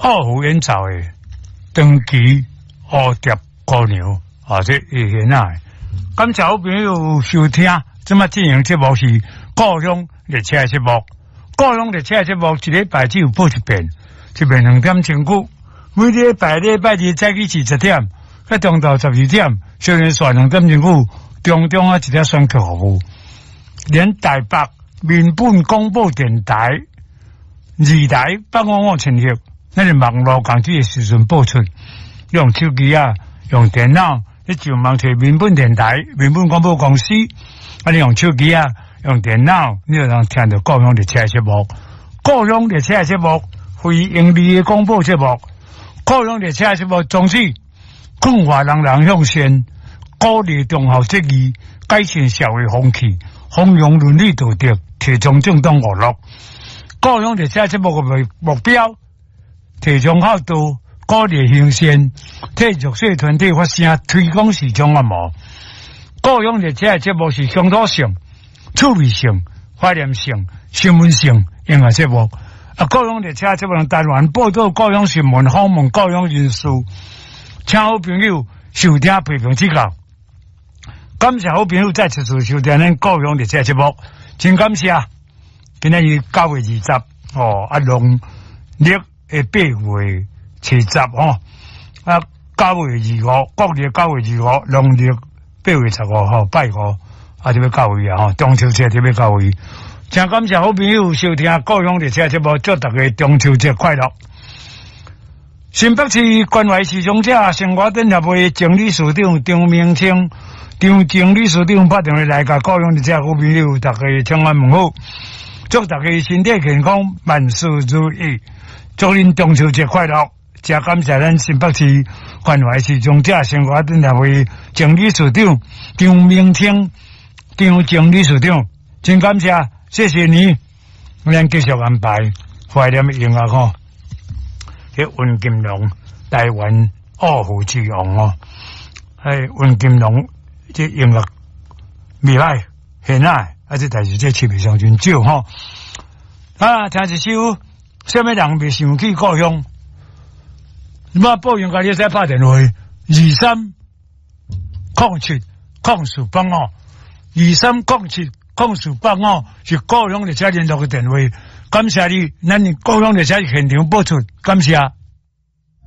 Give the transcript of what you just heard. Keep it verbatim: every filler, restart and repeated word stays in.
二胡演奏的長期蝴蝶姑娘，啊，這會顯啊！感謝好朋友收聽，這擺進行節目是故鄉列車節目，故鄉列車節目一禮拜只有播一遍，一遍兩點鐘久。每禮拜禮拜二早起是十點，到中晝十二點，小連續兩點鐘久，中中啊一點選曲服務，連台北民本廣播電台二台八五五千赫，咱的網路共這个時陣播出，用手機啊，用電腦，你上網揣民本電台、民本廣播公司，啊，你用手機啊，用電腦，你就能聽著故鄉列車節目。故鄉列車節目，非營利的廣播節目。故鄉列車節目宗旨，勸化人人向善，鼓勵忠孝節義，改善社會風氣，弘揚倫理道德，提倡正當娛樂。故鄉列車節目的目標，提倡孝道，鼓勵行善，替弱勢團體發聲，推廣視障按摩。故鄉列車節目是鄉土性、趣味性、懷念性、新聞性音樂節目。啊，故鄉列車節目單元報導故鄉新聞，訪問故鄉人士，請好朋友收聽批評指教。感謝好朋友再次收聽咱故鄉列車節目，真感謝。今仔日九月二十，哦，啊，農曆的八月七十吼，啊，九月二五，國曆九月二五，農曆八月十五號，拜五，啊，就欲到位啊，吼，中秋節就欲到位。真感謝好朋友收聽故鄉列車節目，祝大家中秋節快樂。新北市關懷視障者生活展協會前理事長張明清、張前理事長拍電話來共故鄉列車好朋友，大家請安問好，祝大家身體健康，萬事如意，祝恁中秋節快樂。真感謝咱新北市關懷視障者生活展協會前理事長張明清、張前理事長，真感謝。謝謝你，咱繼續安排懷念音樂吼，彼溫金龍台灣二胡之王哦，哎，溫金龍這音樂未歹，現在啊，這但是這市面上真少吼。啊，聽一首，啥物人袂想起故鄉？我報應該你使拍電話，二三空七空四八五，二三空七。空四八五是故鄉列車聯絡的電話，感謝你，咱故鄉列車現場播出，感謝。